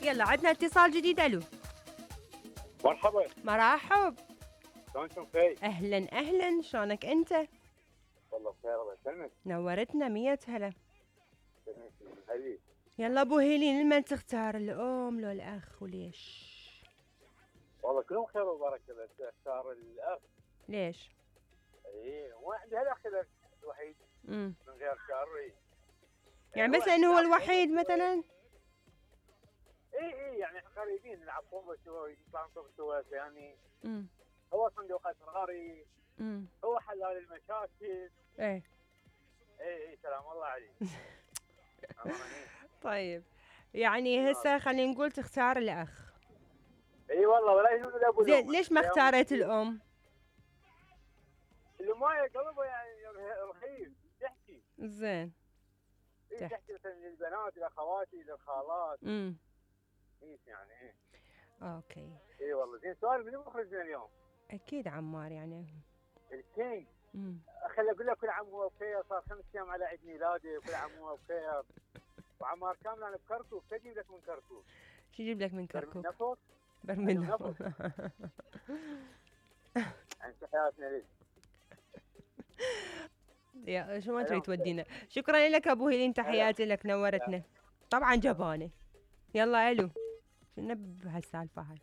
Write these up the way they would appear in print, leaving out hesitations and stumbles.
يلا عندنا اتصال جديد. الو مرحبا. مرحب. شلونكم فيه؟ اهلا اهلا، شلونك انت؟ والله بخير الله يسلمك. نورتنا 100 هلا. حبيبي. يلا ابو هيلين، لمن تختار الام لو الاخ وليش؟ والله كلهم خير وبركه، بس اختار الاخ. ليش؟ اي ما عندي هالاخ الوحيد من غير شر. يعني مثلا هو الوحيد مثلا؟ اي يعني قريبين نلعب طوبه سوا، نطلع نطوف سوا يعني. هو صندوق اسراري، هو حلال المشاكل. اي سلام الله عليك. طيب يعني هسه خلينا نقول تختار الاخ. اي والله ولا يهون الابو. زين ليش ما اختاريت الام؟ الام قلبه يعني رخيص تحكي. زين تحكي مثلا للبنات لاخواتي للخالات. يعني اوكي. اي والله. زين سؤال، منو مخرجنا اليوم؟ اكيد عمار يعني الكينج. خلي اقول لك كل عام وهو بخير، صار 5 ايام على عيد ميلادي، وكل عام وهو بخير. وعمار كامل انا بكركوك، شو اجيب لك من كركوك؟ شو اجيب لك من كركوك؟ برميل نفط. انت حياتنا ليش؟ يا شو ما تريد تودينا. شكرا لك ابو هيلين، تحياتي لك، نورتنا. طبعا جبانه. يلا الو، شنو بهالسالفه هاي؟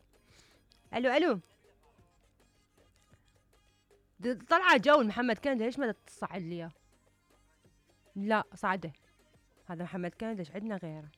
الو طلع جو محمد كندي، ليش ما تصعد لي اياه؟ لا صعده، هذا محمد كندي، عندنا غيره.